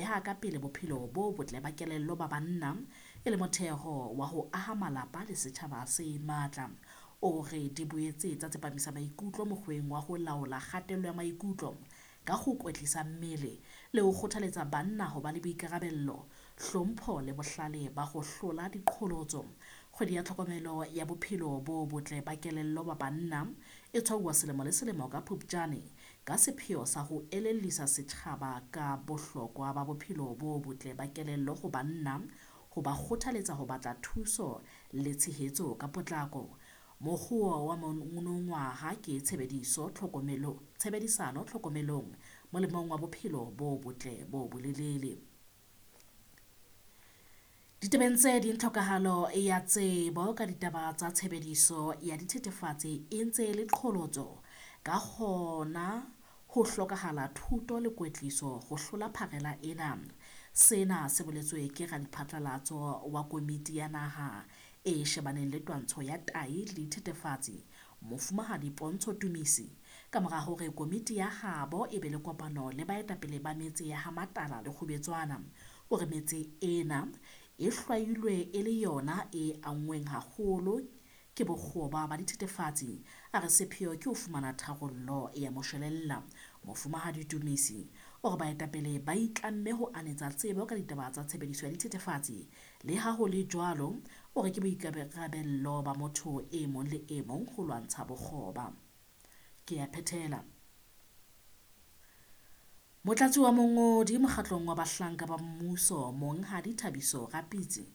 beha ka pele bophelo bo botle ba kelello ba banna e le motheo wa ho aha malapa le setjhaba se matla. O re di boetse tsa tsepamisa maikutlo mokgweng wa ho laola kgatello ya maikutlo ka ho kwetlisa mmele le ho kgothaletsa banna ho ba le boikarabello, hlompho le bohlale ba ho hlola diqholotso. Kgwedi ya tlhokomelo ya bophelo bo botle ba kelello ba banna e tshwauwa selemo le selemo ka Phupjane ka sepheo sa ho elellisa setjhaba ka bohlokwa ba bophelo bo botle ba kelello ho banna, ho ba kgothaletsa ho batla thuso le tshehetso ka potlako. Mokguo wa monongwaha ke tshebedisano tlhokomelong molemong wa bophelo bo botle bo bolelele. Ditabeng tse ding, tlhokahalo ya tsebo ka ditaba tsa tshebediso ya dithethefatsi e ntse e le qholotso, ka hona ho hlokahala thuto le kwetliso ho hlola pharela ena. Sena se boletswe ke radiphatlalatso wa Komiti ya Naha e shebaneng le twantsho ya tahi le dithethefatsi, Mofumahadi Pontsho Tumisi, ka mora hore komiti ya habo e be le kopano le baetapele ba metse ya ha Matala le Kgubetswana. O re metse ena e hlwailwe e le yona e anngweng haholo ke bokgoba ba dithethefatsi. A re sepheo ke ho fumana tharollo ya moshwelella. Mofumahadi Tumisi o re baetapele ba itlamme ho anetsa tsebo ka ditaba tsa tshebediso ya dithethefatsi. Le ha ho le jwalo, o re ke boikarabello ba motho e mong le e mong ho lwantsha bokgoba. Ke a phethela. Motlatsi wa mongodi mokgatlong wa bahlanka ba mmuso, Monghadi Thabiso Rapitsi,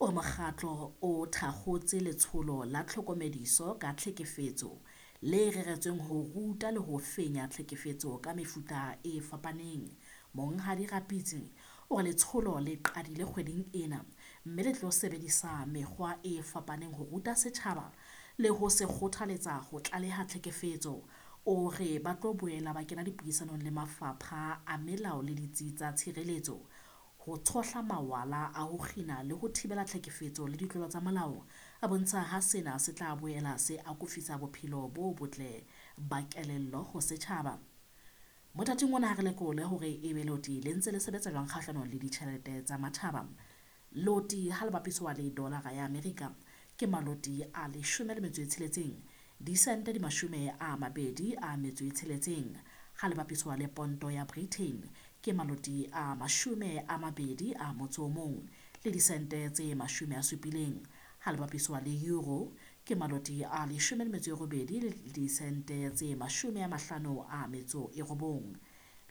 o re mokgatlo o thakgotse letsholo la tlhokomediso ka tlhekefetso le reretsweng ho ruta le ho fenya tlhekefetso ka mefuta e fapaneng. Monghadi Rapitsi o re letsholo le qadile kgweding ena mme le tlo sebedisa mekgwa e fapaneng ho ruta setjhaba le ho se kgothaletsa ho tlaleha tlhekefetso. O re ba tlo boela ba kena dipuisanong le mafapha a melao le ditsi tsa tshireletso ho tshohla mawala a ho kgina le ho thibela tlhekefetso le ditlolo tsa molao. A bontsha ha sena se tla boela se akofisa bophelo bo botle ba kelello ho setjhaba. Mothating ona ha re lekole hore ebe loti le ntse le sebetsa jwang kgahlanong le ditjhelete tsa matjhaba. Loti ha le bapiswa le dolara ya Amerika ke maloti a 16, disente di 26. Ha le bapiswa le ponto ya Britain ke maloti a 21 le disente tse 70. Ha le bapiswa le euro ke maloti a 18 le disente tse 59.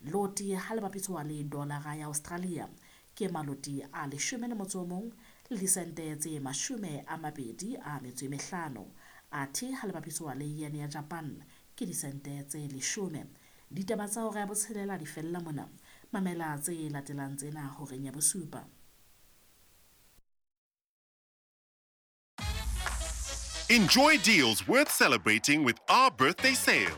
Loti ha le bapiswa le dolara ya Australia ke maloti a 11 le disente tse 25. Athe ha le bapiswa le yen ya Japan ke disente tse 10. Ditaba tsa hora ya botshelela di fella mona. Mamela tse latelang tsena horeng ya bosupa. Enjoy deals worth celebrating with our birthday sale.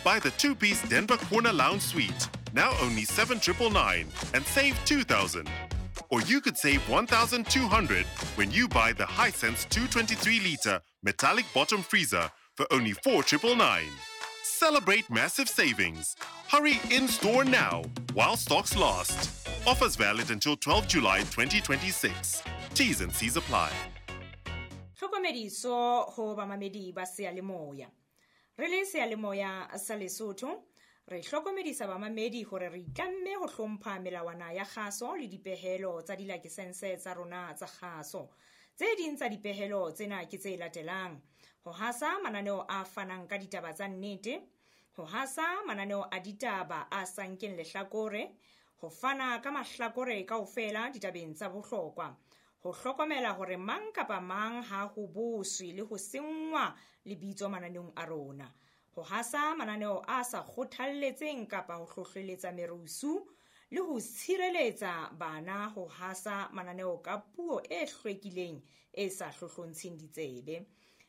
Buy the 2-piece Denver Corner Lounge Suite, now only 7,999, and save 2,000. Or you could save 1,200 when you buy the Hisense 223-litre metallic bottom freezer for only 4,999. Celebrate massive savings. Hurry in-store now while stocks last. Offers valid until 12 July 2026. T's and C's apply. Tlhokomediso ho bamamedi ba seyalemoya. Re le seyalemoya sa Lesotho, re hlokomedisa bamamedi hore re itlamme ho hlompha melawana ya kgaso le dipehelo tsa dilakesense tsa rona tsa kgaso. Tse ding tsa dipehelo tsena ke tse latelang: ho hasa mananeo a fanang ka ditaba tsa nnete, ho hasa mananeo a ditaba a sa nkeng lehlakore, ho fana ka mahlakore kaofela ditabeng tsa bohlokwa, ho hlokomela hore mang kapa mang ha ho boswe le ho senngwa lebitso mananeong a rona, ho hasa mananeo a sa kgothalletseng kapa ho hlohleletsa merusu, le ho tshireletsa bana ho hasa mananeo ka puo e hlwekileng e sa hlohlontsheng ditsebe.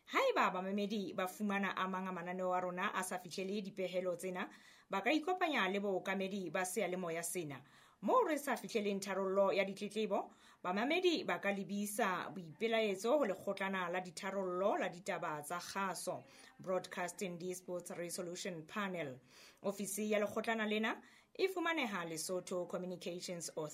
Haeba bamamedi ba fumana a mang a mananeo a rona a sa fihlele dipehelo tsena, ba ka ikopanya le bookamedi ba seyalemoya sena. Moo re sa fihleleng tharollo ya ditletlebo, bamamedi ba ka lebisa boipelaetso ho lekgotlana la ditharollo la ditaba tsa kgaso, Broadcasting Disputes Resolution Panel. Ofisi ya lekgotlana lena e fumaneha Lesotho Communications Authority.